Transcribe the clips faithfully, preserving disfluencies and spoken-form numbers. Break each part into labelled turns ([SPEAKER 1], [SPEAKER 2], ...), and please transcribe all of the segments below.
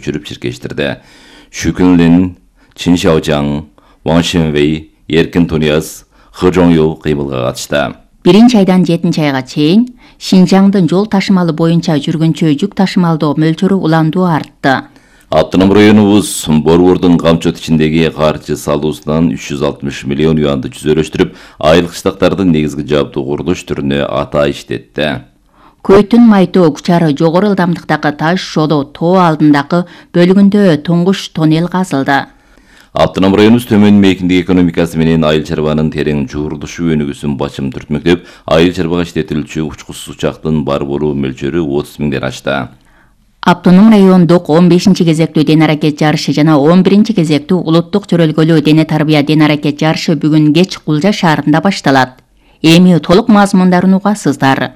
[SPEAKER 1] жүрүп чиркештирди. Шүкүнлин, Чин Шаожаң, Ван Шенвей, Эркин Тунияз, Хы Жоңю кыймылга катышты.
[SPEAKER 2] биринчи айдан жетинчи айга чейин Шинжаңдын жол ташымалы боюнча жүргүнчү жүк ташымалдоо мөлчөрү уландуу артты.
[SPEAKER 1] Автоном районубуз борбордун камчот ичиндеги каржы салуусунан үч жүз алтымыш миллион юанды жүзөрөштүрүп, айылык штактардын негизги жабдуу курулуш түрүнө ата иштетти.
[SPEAKER 2] Көйтүн Майтоо Кучары жогору ылдамдыктагы таш жолу тоо алдындагы бөлүгүндө туңгуш тоннел казылды.
[SPEAKER 1] Автоном районубуз төмөн мейкиндик экономикасы менен айыл чарбанын терең жуурулушу өнүгүүсүн бачым түртмөктөп, айыл чарбага иштетилүүчү учкучсуз учактын бар болуу мөлчөрү отуз миңден ашты.
[SPEAKER 2] Автоном райондук он бешинчи кезектүү ден аракет жарышы жана он биринчи кезектүү улуттук чөрөлгөлүү дене тарбия ден аракет жарышы бүгүн кеч Кулжа шаарында башталат. Эми толук мазмундарын угасыздар.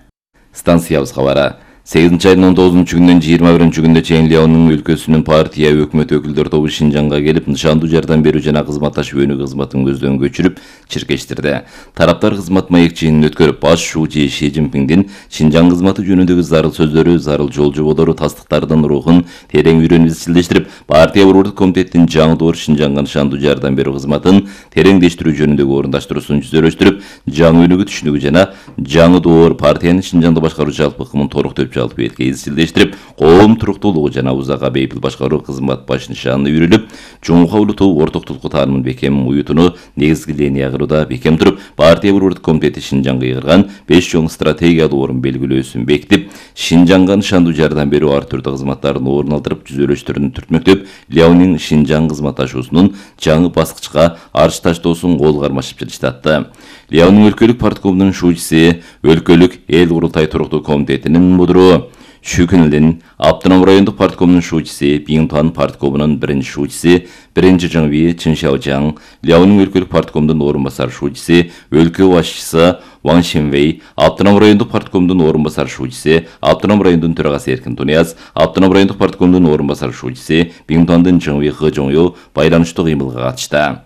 [SPEAKER 1] Станциябыз кабары. сегизинчи айдын он тогузунчу күнүнөн жыйырма биринчи күнүнө чейин Леонун өлкөсүнүн партия өкмөт өкүлдөр тобу Шинжаңга келип, нышандуу жардам берүү жана кызматташуу өнүгүү кызматын көздөн көчүрүп, чиркештирди. Тараптар кызмат маек жыйынын өткөрүп, баш шүүчү Ши Цзиньпиндин Шинжаң кызматы жөнүндөгү зарыл сөздөрү, зарыл жол жоболору, тастыктардын рухун терең үйрөнүп изчилдештирип, партия борбордук комитеттин жаңы доор Шинжаңга нышандуу жардам берүү кызматын тереңдештирүү жөнүндөгү орундаштыруусун жүзөрөштүрүп, жаңы өнүгүү түшүнүгү жана жаңы доор партиянын Шинжаңда башкаруу жалпы ыкмын толуктуу жалпы этке изчилдештирип, коом туруктуулугу жана узакка бейпил башкаруу кызмат баш нышанына үйрүлүп, жумука улутуу ортоктулукку таанымын бекем уютууну негизги линия кылууда бекем туруп, партия борбордук комитети Шинжаңга ыйгарган беш чоң стратегиялуу орун белгилөөсүн бекитип, Шинжаңга нышандуу жардам берүү ар түрдүү кызматтарын орун алдырып, жүзөрөштөрүн түртмөктөп, Леонин Шинжаң кызматташуусунун жаңы баскычка арч таштоосун кол кармашып жатышты. Леонин өлкөлүк парткомунун шүүчүсү, өлкөлүк эл курултай туруктуу комитетинин мудуру Шүкүнлин, Автоном райондук парткомунун шүүчүсү, Биңтуан парткомунун биринчи шүүчүсү, биринчи Жаңви Чин Шаожаң, Леонин өлкөлүк парткомунун орун басар шүүчүсү, өлкө башчысы Ван Шенвей, Автоном райондук парткомунун орун басар шүүчүсү, Автоном райондун төрагасы Эркин Тунияз, Автоном райондук парткомунун орун басар шүүчүсү, Биңтуандын Жаңви Хы Жоңю байланыштуу кыймылга катышты.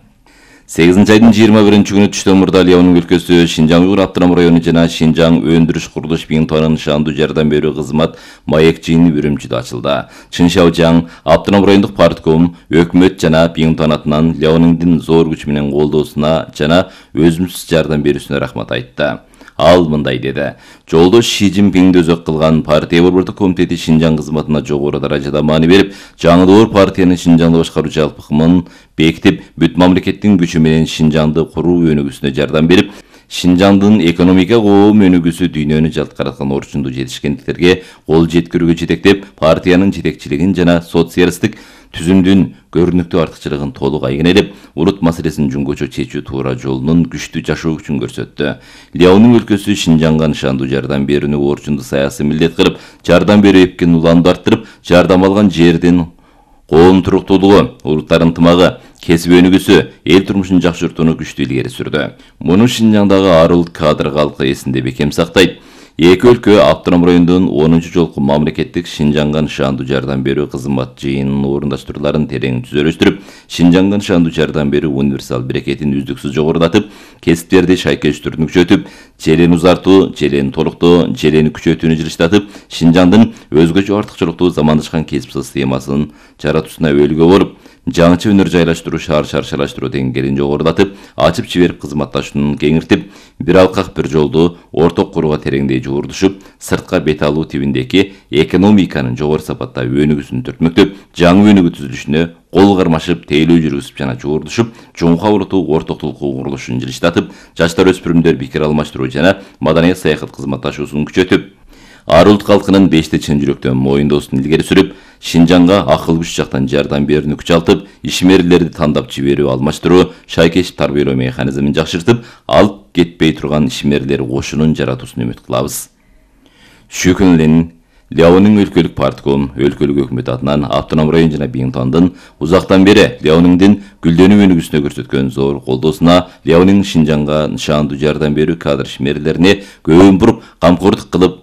[SPEAKER 1] сегизинчи айдын жыйырма биринчи күнү түштөн мурда Леонун өлкөсү, Шинжаң Уйгур автоном району жана Шинжаң өндүрүш курулуш Биңтуанын нышандуу жардам берүү кызмат маек жыйыны Үрүмчүдө ачылды. Чин Шаожаң, Автоном райондук партком, өкмөт жана Биңтуан атынан Леониндин зор күч менен колдоосуна жана өзүмсүз жардам берүүсүнө рахмат айтты. Ал мындай деди: жолдош Ши Цзиньпинди өзөк кылган партия борбордук комитети Шинжаң кызматына жогору даражада маани берип, жаңы доор партиянын Шинжаңды башкаруу жалпы ыкмын бекитип, бүт мамлекеттин күчү менен Шинжаңды куруу өнүгүүсүнө жардам берип, Шинжаңдын экономика коом өнүгүүсү дүйнөнү жалткараткан орчундуу жетишкендиктерге кол жеткирүүгө жетектеп, партиянын жетекчилигин жана социалисттик түзүмдүн көрүнүктүү артыкчылыгын толук айгинелеп, улут маселесин жөнгөчө чечүү туура жолунун күчтүү жашоо күчүн көрсөттү. Леонун өлкөсү Шинжаңга нышандуу жардам берүүнү орчундуу саясий милдет кылып, жардам берүү эпкин уланды арттырып, жардам алган жердин коом туруктуулугу, улуттар ынтымагы, кесип өнүгүүсү, эл турмушун жакшыртууну күчтүү илгери сүрдү. Муну Шинжаңдагы ар улут кадр калкы эсинде бекем сактайт. Эки өлкө Автоном районунун онунчу жолку мамлекеттик Шинжаңга нышандуу жардам берүү кызмат жыйынынын орундаштырууларын терең түзөлөштүрүп, Шинжаңга нышандуу жардам берүү универсал берекетин үздүксүз жогорулатып, кесиптерди шайкештүүнү күчөтүп, желени узартуу, желени толуктоо, желени күчөтүүнү жылыштатып, Шинжаңдын өзгөчө артыкчылыктуу замандашкан кесип системасын жаратуусуна өбөлгө болуп, жаңыча өнөр жайлаштыруу, шаар шаршалаштыруу деңгээлин жогорулатып, ачып жиберип кызматташууну кеңиртип, бир алкак бир жолду орток курууга тереңдей жуурдушуп, сыртка бет алуу тибиндеги экономиканын жогору сапатта өнүгүүсүн түртмөктөп, жаңы өнүгүү түзүлүшүнө кол кармашып, тейлөө жүргүзүп жана жуурдушуп, жумка улутуу ортоктулукту курулушун жылыштатып, жаштар өспүрүмдөр пикир алмаштыруу жана маданият саякат кызматташуусун күчөтүп, ар улут калкынын бешти чын жүрөктөн моюндоосун илгери сүрүп, Шинжаңга акыл күч жактан жардам берүүнү күчалтып, ишмерлерди тандап жиберүү, алмаштыруу, шайкешип тарбиялоо механизмин жакшыртып, алып кетпей турган ишмерлер кошунун жаратуусуна үмүт кылабыз. Шүкүнлин, Леонин өлкөлүк партком, өлкөлүк өкмөт атынан Автоном район жана Биңтуандын узактан бери Леониндин гүлдөнүү өнүгүүсүнө көрсөткөн зор колдоосуна, Леонин Шинжаңга нышандуу жардам берүү кадр ишмерлерине көбүн буруп, камкордук кылып,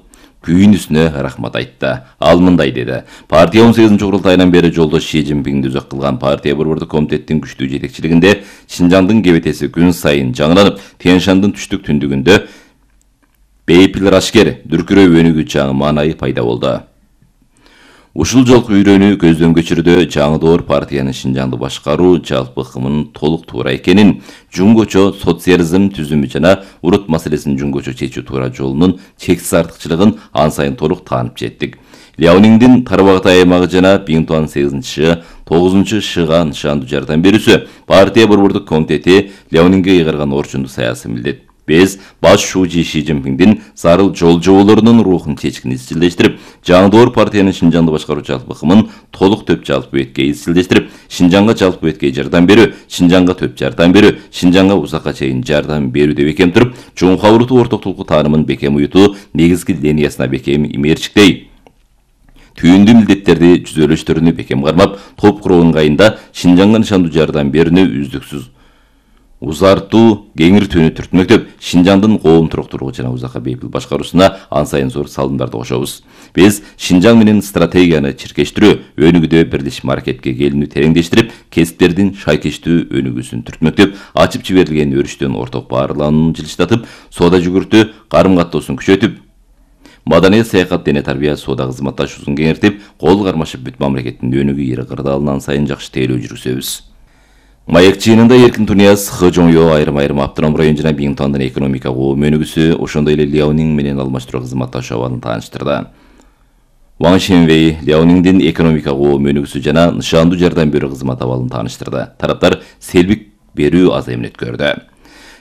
[SPEAKER 1] күйүнүүсүнө рахмат айтты. Ал мындай деди: партия он сегизинчи курултайынан бери жолдош Ши Цзиньпинди өзөк кылган партия борбордук комитеттин күчтүү жетекчилигинде Шинжаңдын кебетеси күн сайын жаңыланып, Тянь-Шандын түштүк түндүгүндө бейпил рашкер, дүркүрөө өнүгүү чаңы маанайы пайда болду. Ушул жолку үйрөнүү көздөн көчүрүүдө жаңы доор партиянын Шинжаңды башкаруу жалпы ыкымынын толук туура экенин, жуңгочо социализм түзүмү жана урут маселесин жуңгочо чечүү туура жолунун чексиз артыкчылыгын ан сайын толук таанып жеттик. Ляониңдин Тарбагатай аймагы жана Биңтуан сегизинчи тогузунчу шыга нышандуу жардам берүүсү партия борбордук комитети Ляонинге ыйгарган орчунду саясий милдет. Биз баш шуучу Ши Цзиньпиңдин зарыл жол жоболорунун рухун чечкин изчилдештирип, жаңы доор партиянын Шинжаңды башкаруу жалпы ыкымын толук төп жалпы беткей изчилдештирип, Шинжаңга жалпы беткей жардам берүү, Шинжаңга төп жардам берүү, Шинжаңга узакка чейин жардам берүү деп бекем туруп, чоңкуа уруту ортоктулуку таанымын бекем уютуу негизги линиясына бекем имээрчиктей. Түйүндүү милдеттерди жүзөлөштөрүнү бекем кармап, топ куруу ыңгайында Шинжаңга нышандуу жардам берүүнү үздүксүз узартуу кеңиртүүнү түртмөктөп, Шинжаңдын коом туруктуулугу жана узакка бейпил башкаруусуна ан сайын зор салымдарды кошобуз. Биз Шинжаң менен стратегияны чиркештирүү, өнүгүүдө бирлешме аракетке келүүнү тереңдештирип, кесиптердин шайкештүү өнүгүүсүн түртмөктөп, ачып жиберилген өрүштөн орток баарланууну жылыштатып, соода жүгүртүү карым-каттоосун күчөтүп, маданият, саякат, дене тарбия, соода кызматташуусун кеңиртип, кол кармашып бүт мамлекеттин өнүгүү ири кырдаалынан сайын жакшы тейлөө жүргүзөбүз. Маек жыйынында Эркин Тунияз, Хыжоңё айрым-айрым Автоном район жана Биңтуандын экономика коом өнүгүүсү, ошондой эле Ляонинг менен алмаштыруу кызматташуу абалын тааныштырды. Ван Шенвей Ляониңдин экономика коом өнүгүүсү жана нышандуу жардам берүү кызмат абалын тааныштырды. Тараптар селбик берүү азайымын өткөрдү.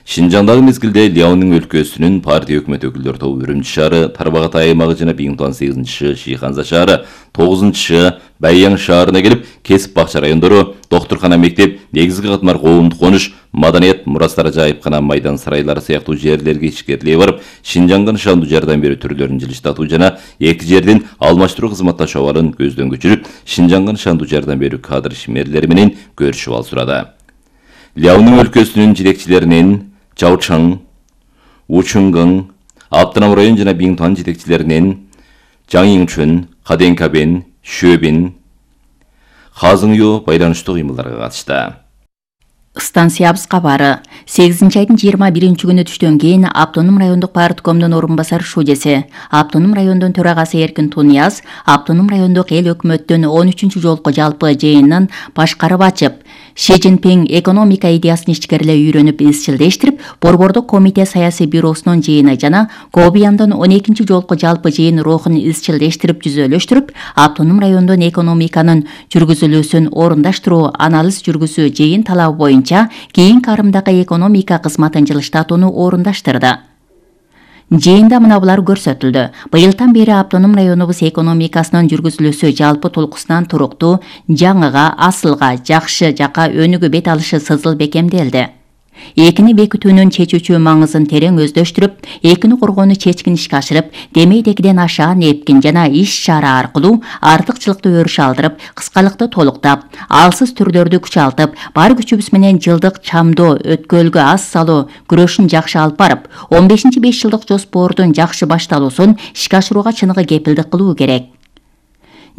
[SPEAKER 1] Шинжаңдагы мезгилде Ляонинг өлкөсүнүн партия өкмөт өкүлдөр тобу Үрүмчү шаары, Тарбагатай аймагы жана Биңтуан сегизинчи Шиханза шаары, тогузунчу Байяң шаарына келип, кесип бакча райондору, доктуркана, мектеп, негизги катмар, коомдук конуш, маданият, мурастар, жайыпкана, майдан сарайлары сыяктуу жерлерге ишкерилей барып, Шинжаңга нышандуу жардам берүү түрлөрүн жылыштатуу жана эки жердин алмаштыруу кызматташуу абалын көздөн көчүрүп, Шинжаңга нышандуу жардам берүү кадр ишмерлери менен көрүшүп ал сурады. Ляонинг өлкөсүнүн жетекчилеринин Чаучаң, Учуңгың, Автоном район жана Биңтуан жетекчилеринин Жаңиңчүн, Каденкабен, Шөбин, Хазыңю байланыштуу кыймылдарга катышты.
[SPEAKER 2] Станциябыз кабары. сегизинчи айдын жыйырма биринчи күнү түштөн кийин Автоном райондук парткомдун орун басар шуудеси, Автоном райондун төрагасы Эркин Тунияз, Автоном райондук эл өкмөттүн он үчүнчү жолку жалпы жыйынын башкарып ачып, Ши Цзиньпиң экономика идеясын ичкериле үйрөнүп изчилдештирип, борбордук комитет саясий бюросунун жыйыны жана Кобияндын он экинчи жолку жалпы жыйын рухун изчилдештирип жүзөлөштүрүп, Автоном райондун экономиканын жүргүзүлүүсүн орундаштыруу, анализ жүргүзүү жыйын талабы боюнча кийин карымдагы экономика кызматын жылыштатууну орундаштырды. Жыйында мына булар көрсөтүлдү. Быйылдан бери Автоном районубуз экономикасынын жүргүзүлүүсү жалпы толкусунан туруктуу, жаңыга, асылга, жакшы жака өнүгүү бет алышы сызыл бекемделди. Экини бекитүүнүн чечүүчү маңызын терең өздөштүрүп, экини коргоону чечкин ишке ашырып, демейдегиден ашаан эпкин жана иш-чара аркылуу артыкчылыкты өрүш алдырып, кыскалыкты толуктап, алсыз түрлөрдү күчалтып, бар күчүбүз менен жылдык чамдоо, өткөлгө аз салуу күрөшүн жакшы алып барып, он бешинчи беш жылдык жоспордун жакшы башталуусун ишке ашырууга чыныгы кепилдик кылуу керек.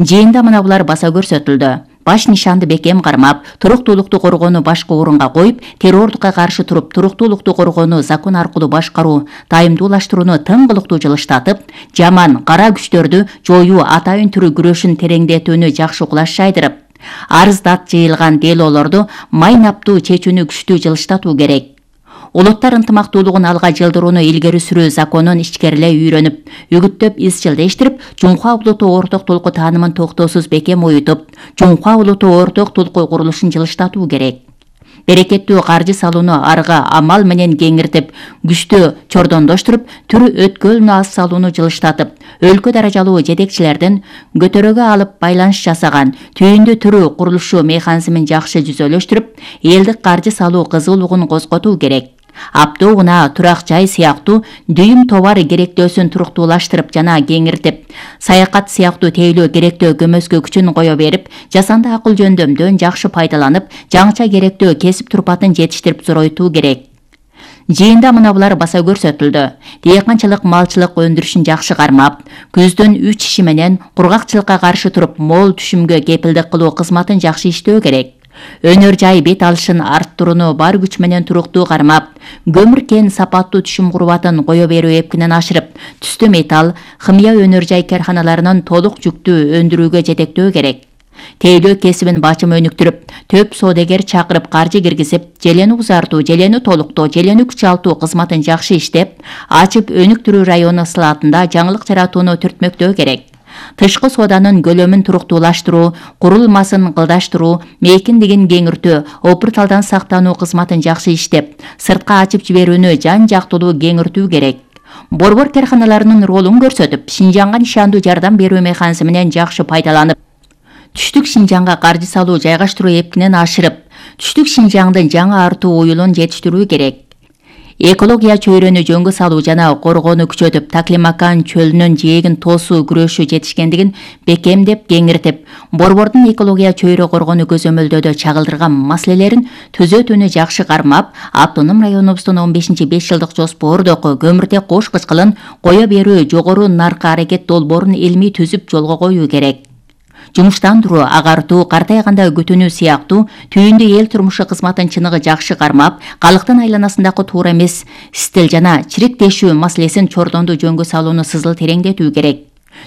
[SPEAKER 2] Жыйында мына булар баса көрсөтүлдү. Баш нишанды бекем кармап, туруктуулукту коргоону башкы орунга коюп, террордукка каршы туруп, туруктуулукту коргоону закон аркылуу башкаруу, тайымдуулаштырууну тыңгылыктуу жылыштатып, жаман, кара күчтөрдү жоюу, атайын түрү күрөшүн тереңдетүүнү жакшы кулаш жайдырып, арыздат жыйылган делолорду майнаптуу чечүүнү күчтүү жылыштатуу керек. Улуттар ынтымактуулугун алга жылдырууну илгери сүрүү законун ичкериле үйрөнүп, үгүттөп изчилдештирип, Жуңкуа улуттуу орток толку таанымын токтоосуз бекем уютуп, Жуңкуа улуттуу орток толку курулушун жылыштатуу керек. Берекеттүү каржы салууну арга амал менен кеңиртип, күчтүү чордондоштуруп, түрү өткөлүнө аз салууну жылыштатып, өлкө даражалуу жетекчилердин көтөрөгө алып байланыш жасаган түйүндүү түрү курулушу механизмин жакшы жүзөлөштүрүп, элдик каржы салуу кызуулугун козготуу керек. Аптоо унаа, турак жай сыяктуу дүйүм товар керектөөсүн туруктуулаштырып жана кеңиртип, саякат сыяктуу тейлөө керектөө көмөскө күчүн кое берип, жасанды акыл жөндөмдөн жакшы пайдаланып, жаңыча керектөө кесип турпатын жетиштирип зоройтуу керек. Жыйында мына булар баса көрсөтүлдү. Дыйканчылык, малчылык өндүрүшүн жакшы кармап, күздүн үч иши менен кургакчылыкка каршы туруп, мол түшүмгө кепилдик кылуу кызматын жакшы иштөө керек. Өнөр жай бет алышын арттырууну бар күч менен туруктуу кармап, көмүр кен сапаттуу түшүм курбатын кое берүү эпкинен ашырып, түстүү металл, химия өнөр жай карханаларынын толук жүктүү өндүрүүгө жетектөө керек. Тейлөө кесибин бачым өнүктүрүп, төп соодагер чакырып каржы киргизип, желени узартуу, желени толуктоо, желени күчалтуу кызматын жакшы иштеп, ачып өнүктүрүү району слаатында жаңылык жаратууну түртмөктөө керек. Тышкы сооданын көлөмүн туруктуулаштыруу, курулмасын кылдаштыруу, мейкиндигин кеңиртүү, опурталдан сактануу кызматын жакшы иштеп, сыртка ачып жиберүүнү жан жактылуу кеңиртүү керек. Борбор карханаларынын ролун көрсөтүп, Шинжаңга нишандуу жардам берүү механизминен жакшы пайдаланып, түштүк Шинжаңга каржы салуу жайгаштыруу эпкинен ашырып, түштүк Шинжаңдын жаңы артуу уюлун жетиштирүү керек. Экология чөйрөнү жөнгө салуу жана коргоону күчөтүп, Таклимакан чөлүнүн жээгин тоосуу күрөшүү жетишкендигин бекемдеп, кеңиртип, борбордун экология чөйрө коргоону көзөмөлдөөдө чагылдырган маселелерин түзөтүүнү жакшы кармап, автоном районубуздун он бешинчи беш жылдык жоспордогу көмүртек кош кычкылын кое берүү жогору наркы аракет долбоорун илмий түзүп жолго коюу керек. Жумуштандыруу, агартуу, картайганда күтүүнүү сыяктуу түйүндүү эл турмушу кызматын чыныгы жакшы кармап, калктын айланасындагы туура эмес стил жана чириктешүү маселесин чордондуу жөнгө салууну сызыл тереңдетүү керек.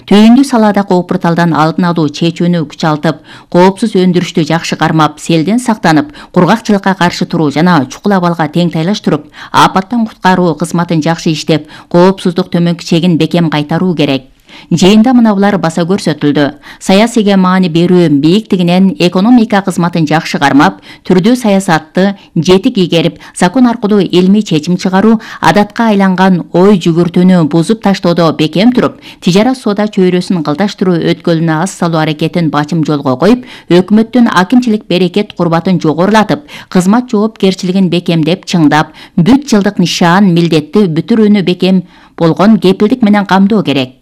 [SPEAKER 2] Түйүндүү салаадагы опурталдан алдын алуу чечүүнү күчалтып, коопсуз өндүрүштү жакшы кармап, селден сактанып, кургакчылыкка каршы туруу жана чукул абалга тең тайлаштырып, апаттан куткаруу кызматын жакшы иштеп, коопсуздук төмөнкү чегин бекем кайтаруу керек. Жыйында мынабулар баса көрсөтүлдү. Саясийге маани берүү бийиктигинен экономика кызматын жакшы кармап, түрдүү саясатты жетик игерип, закон аркылуу илмий чечим чыгаруу, адатка айланган ой жүгүртүүнү бузуп таштоодо бекем туруп, тижара соода чөйрөсүн кылдаштыруу өткөлүнө аз салуу аракетин бачым жолго коюп, өкмөттүн акимчилик берекет курбатын жогорулатып, кызмат жоопкерчилигин бекемдеп, чыңдап, бүт жылдык нишан, милдетти бүтүрүүнү бекем болгон кепилдик менен камдоо керек.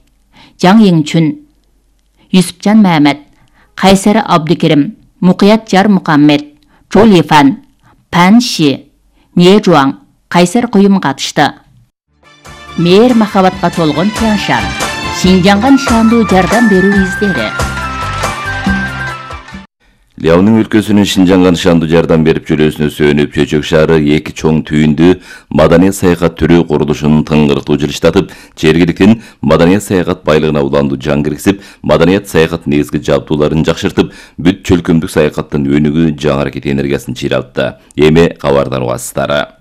[SPEAKER 2] Жаң Еңчүн, Юсупжан Мәмәт, Кайсары Абдыкерим, Мукият Жар Мукаммед, Чолифан, Панши, Нежуаң, Кайсар Куюм катышты. Мээр махабатка толгон Тяншан, Шинжаңга нишандуу жардам берүү издери.
[SPEAKER 1] Ляонун өлкөсүнүн Шинжаңга нишандуу жардам берип жүрүүсүнө сүйөнүп, Чөчөк шаары эки чоң түйүндүү маданият саякат түрү курулушун тыңгыртуу жылыштатып, жергиликтин маданият саякат байлыгына уландуу жан киргизип, маданият саякат негизги жабдууларын жакшыртып, бүт чөлкөмдүк саякаттын өнүгүү жаңы аракет энергиясын чыйралтты. Эми кабардар убасыздары.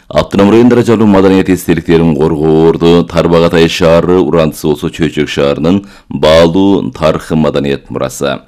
[SPEAKER 1] Автоном райондора жалуу маданият эстеликтерин коргоо орду Тарбагатай шаары урандысы болсо Чөчөк шаарынын баалуу тарыхы маданият мурасы.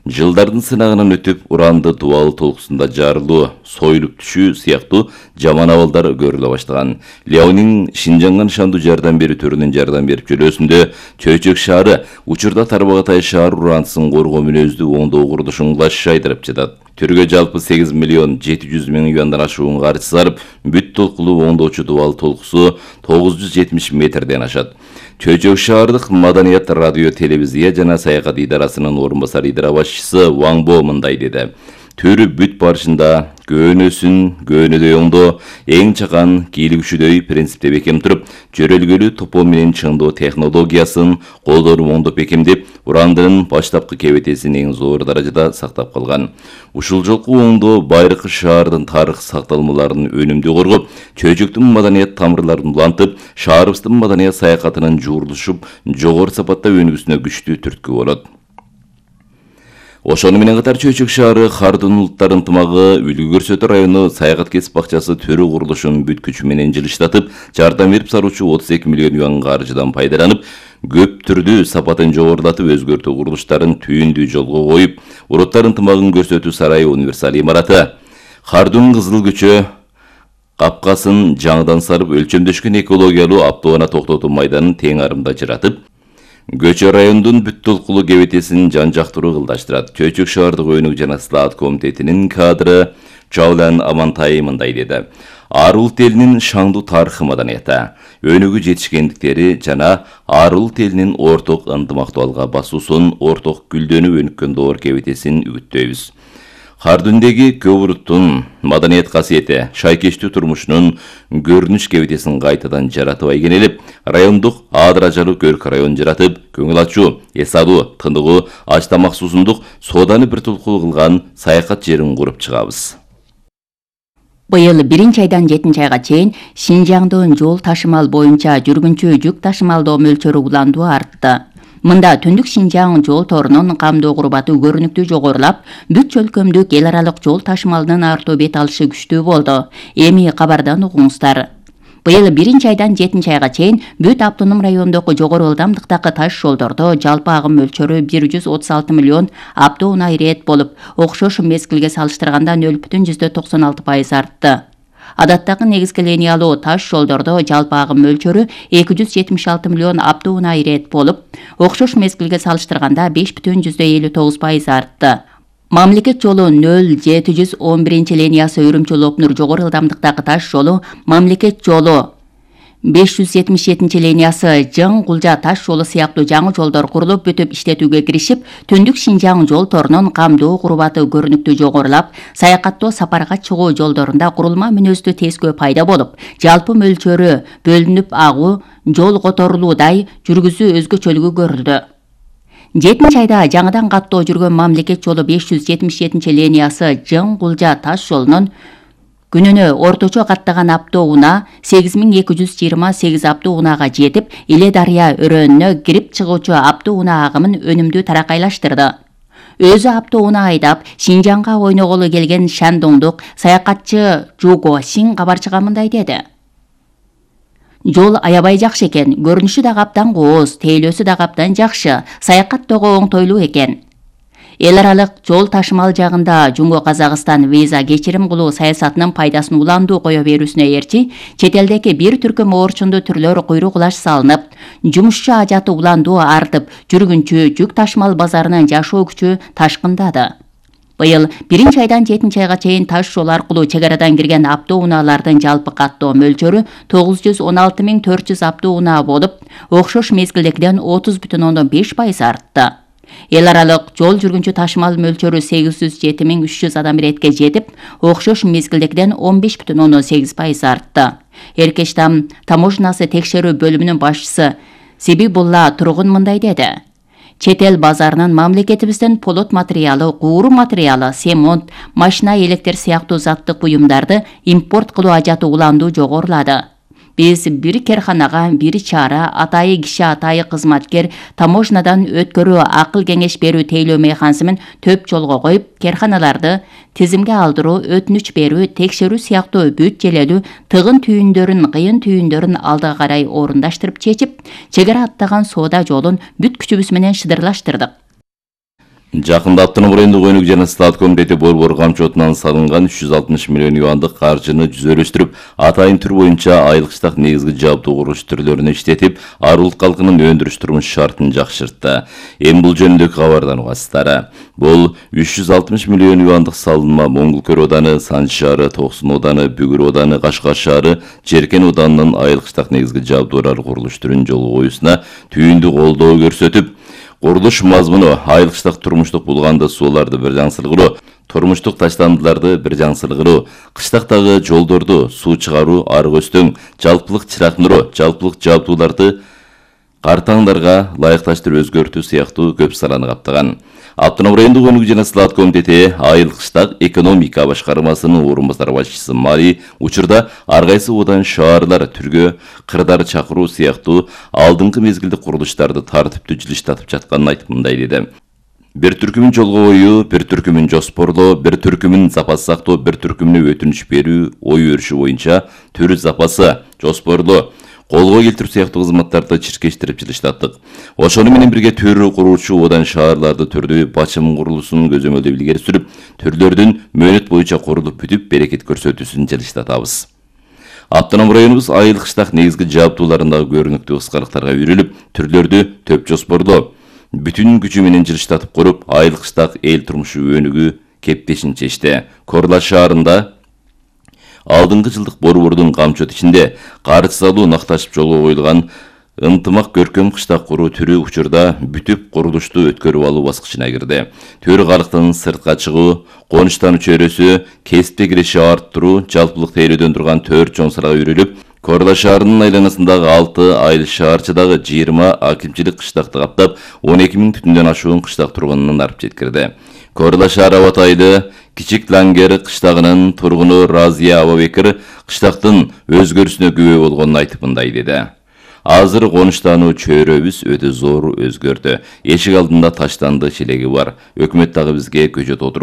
[SPEAKER 1] Жылдардын сынагынан өтүп, уранды дубал толкусунда жарылуу, союлуп түшүү сыяктуу жаман абалдар көрүлө баштаган. Ляонин Шинжаңга нишандуу жардам берүү түрүнүн жардам берип жүрүүсүндө Чөчөк шаары учурда Тарбагатай шаар урандысын коргоо мүнөздүү оңдоо курулушун кылаш айдырып жатат. Түргө жалпы сегиз миллион жети жүз миң юандан ашуун каржы сарып, бүт толкулуу оңдоочу дубал толкусу тогуз жүз жетимиш метрден ашат. Чөчөк шаардык маданият радио телевизия жана саякат идарасынын орун басар идара башчысы Ваңбо мындай деди. Төрү бүт барышында көөнөсүн көөнөдөй оңдоо, эң чакан кийлигүчүдөй принципте бекем туруп, жөрөлгөлүү топоо менен чыңдоо технологиясын колдонуп оңдоп бекемдеп, урандынын баштапкы кебетесин эң зор даражада сактап калган. Ушул жолку оңдоо Байыркы шаардын тарых сакталмаларын өнүмдүү коргоп, Чөчөктүн маданият тамырларын улантып, шаарыбыздын маданият саякатынын жуурулушуп, жогору сапатта өнүгүүсүнө күчтүү түрткү болот. Ошону менен катар Чөчөк шаары Хардун улуттар ынтымагы Үлгү көрсөтүү району саякат кесип бакчасы төрү курулушун бүт күчү менен жылыштатып, жардам берип саруучу отуз эки миллион юан каржыдан пайдаланып, көп түрдүү сапатын жогорулатып өзгөртүү курулуштарын түйүндүү жолго коюп, улуттар ынтымагын көрсөтүү сарайы универсал имараты, Хардун Кызыл көчө капкасын жаңыдан сарып, өлчөмдөшкөн экологиялуу автоунаа токтотуу майданын тең арымда жыратып, Көчө райондун бүт толкулуу кебетесин жан жактыруу кылдаштырат. Чөчөк шаардык өнүгүү жана слаат комитетинин кадры Жаулан Амантай мындай деди. Ар улут элинин шаңдуу тарыхы маданияты, өнүгүү жетишкендиктери жана ар улут элинин орток ынтымактуулукка басуусун, орток гүлдөнүп өнүккөн доор кебетесин үгүттөйбүз. Хардүндеги Көбүрүттүн маданият касиети, шайкештүү турмушунун көрүнүш кебетесин кайтадан жаратып айгенелеп, райондук аадыражалуу көрк район жаратып, көңүл ачуу, эс алуу, тыныгуу, аш тамак суусундук сооданы бир тулкуу кылган саякат жерин куруп чыгабыз.
[SPEAKER 2] Быйыл биринчи айдан жетинчи айга чейин Шинжаңдын жол ташымал боюнча жүргүнчү жүк ташымалдоо мөлчөрү уландуу артты. Мында Түндүк Шинжаң жол торунун камдоо курбаты көрүнүктүү жогорулап, бүт өлкөмдүк эл аралык жол ташымалынын артуу бет алышы күчтүү болду. Эми кабардан угуңуздар. Быйыл биринчи айдан жетинчи айга чейин бүт автоном райондогу жогору ылдамдыктагы таш жолдордо жалпы агым мөлчөрү бир жүз отуз алты миллион автоунаа ирет болуп, окшош мезгилге салыштырганда нөл бүтүн жүздө токсон алты пайыз артты. Адаттагы негизги линиялуу таш жолдордо жалпы агым мөлчөрү эки жүз жетимиш алты миллион автоунаа ирет болуп, окшош мезгилге салыштырганда беш бүтүн жүздө элүү тогуз пайыз артты. Мамлекет жолу нөл жети жүз он биринчи линиясы Үрүмчү-Лопнур жогору ылдамдыктагы таш жолу, мамлекет жолу беш жүз жетимиш жетинчи линиясы Жың-Кулжа таш жолу сыяктуу жаңы жолдор курулуп бүтүп иштетүүгө киришип, Түндүк Шинжаң жол торунун камдоо курбаты көрүнүктүү жогорулап, саякаттоо сапарга чыгуу жолдорунда курулма мүнөздүү тескөө пайда болуп, жалпы мөлчөрү бөлүнүп агуу, жол которулуудай жүргүзүү өзгөчөлүгү көрүлдү. жетинчи айда жаңыдан каттоо жүргөн мамлекет жолу беш жүз жетимиш жетинчи линиясы Жың-Кулжа таш жолунун күнүнө орточо каттаган автоунаа сегиз миң эки жүз жыйырма сегиз автоунаага жетип, Иле дарыя өрөөнүнө кирип чыгуучу автоунаа агымын өнүмдүү таракайлаштырды. Өзү автоунаа айдап, Шинжаңга ойноголу келген шандоңдук саякатчы Жуго Сиң кабарчыга мындай деди. Жол аябай жакшы экен, көрүнүшү да каптан кооз, тейлөөсү да каптан жакшы, саякаттоого оңтойлуу экен. Эл аралык жол ташымал жагында Жумго Казакстан виза кечирим кылуу саясатынын пайдасын уландуу кое берүүсүнө ээрчи, чет элдеги бир түркүм оорчундуу түрлөр куйрук-кулаш салынып, жумушчу ажаты уландуу артып, жүргүнчү жүк ташымал базарынын жашоо күчү ташкындады. Быйыл биринчи айдан жетинчи айга чейин таш жол аркылуу чек арадан кирген автоунаалардын жалпы каттоо мөлчөрү тогуз жүз он алты миң төрт жүз автоунаа болуп, окшош мезгилдегиден отуз бүтүн ондон беш пайыз артты. Эл аралык жол жүргүнчү ташымал мөлчөрү сегиз жүз жети миң үч жүз адам иретке жетип, окшош мезгилдегиден он беш бүтүн ондон сегиз пайыз артты. Эркештам таможнасы текшерүү бөлүмүнүн башчысы Сибибулла Тургун мындай деди. Чет эл базарынын мамлекетибизден полот материалы, кууру материалы, семонт, машина электр сыяктуу заттык буюмдарды импорт кылуу ажаты уландуу жогорулады. Биз бир керханага бир чара, атайы киши атайы кызматкер таможнадан өткөрүү акыл кеңеш берүү тейлөө механизмин төп жолго коюп, керханаларды тизимге алдыруу, өтүнүч берүү, текшерүү сыяктуу бүт желелүү тыгын түйүндөрүн, кыйын түйүндөрүн алдыга карай орундаштырып чечип, чек ара аттаган соода жолун бүт күчүбүз менен шыдырлаштырдык.
[SPEAKER 1] Жакында Автоном райондук өнүк жана стат комитети борбор камчотунан салынган үч жүз алтымыш миллион юандык каржыны жүзөлөштүрүп, атайын түр боюнча айлык штат негизги жабдуу курулуш түрлөрүнө иштетип, ар улут калкынын өндүрүш турмуш шартын жакшыртты. Эми бул жөнүндөгү кабардан угасыздар. Бул үч жүз алтымыш миллион юандык салынма Моңгулкөл ооданы, Санчы шаары, Токсон ооданы, Бүгүр ооданы, Кашкар шаары, Жеркен оодарынын айлык штат негизги жабдуулар курулуш түрүн жолго коюусуна түйүндү колдоо көрсөтүп, курулуш мазмуну айлык штат турмуштук булганды сууларды бир жаңсыргыруу, турмуштук таштандыларды бир жаңсыргыруу, кыштактагы жолдорду суу чыгаруу, арык өстөң, жалпылык чырактандыруу, жалпылык жабдууларды картаңдарга ылайыкташтырып өзгөртүү сыяктуу көп саланы каптаган. Автоном райондук өнүк жана стат комитети айылык штат экономика башкармасынын орун басар башчысы Мари учурда ар кайсы одан шаарлар түргө кырдар чакыруу сыяктуу алдыңкы мезгилдик курулуштарды тартиптүү жылыштатып жатканын айтып мындай деди. Бир түркүмүн жолго коюу, бир түркүмүн жоспорлоо, бир түркүмүн запас сактоо, бир түркүмүнө өтүнүч берүү, ой өрүшү боюнча төр запасы, жоспорлоо, колго келтирүү сыяктуу кызматтарды чиркештирип жылыштаттык. Ошону менен бирге төр куруучу одан шаарларды түрдүү бачым курулуусун көзөмөлдөп илгери сүрүп, түрлөрдүн мөөнөт боюнча курулуп бүтүп, берекет көрсөтүүсүн жылыштатабыз. Автоном районубуз айылык штат негизги жабдууларындагы көрүнүктүү кыскалыктарга үйрүлүп, түрлөрдү төп жоспорлоо, бүтүн күчү менен жылыштатып куруп, айылык штат эл турмушу өнүгүү кептешин чечти. Корла шаарында алдыңкы жылдык борбордун камчот ичинде карыз салуу накташып жолго коюлган Ынтымак көркөм кыштак куруу түрү учурда бүтүп курулушту өткөрүп алуу баскычына кирди. Төрү калктын сыртка чыгуу, конуштан чөйрөсү, кесипти кириши арттыруу, жалпылык тейлөөдөн турган төрт чоң сырага үйрүлүп, Корла шаарынын айланасындагы алты айыл шаарчыдагы жыйырма акимчилик кыштакты каптап, он эки миң түтүндөн ашуун кыштак тургунун алып жеткирди. Корла шаары абатайы Кичик Лангер кыштагынын тургуну Разия Абабекир кыштактын өзгөрүшүнө күбө болгонун айтып мындай деди. Азыр конуштануу чөйрөбүз өтө зор өзгөрдү. Эшик алдында таштанды челеги бар. Өкмөт дагы бизге көчөт отуруп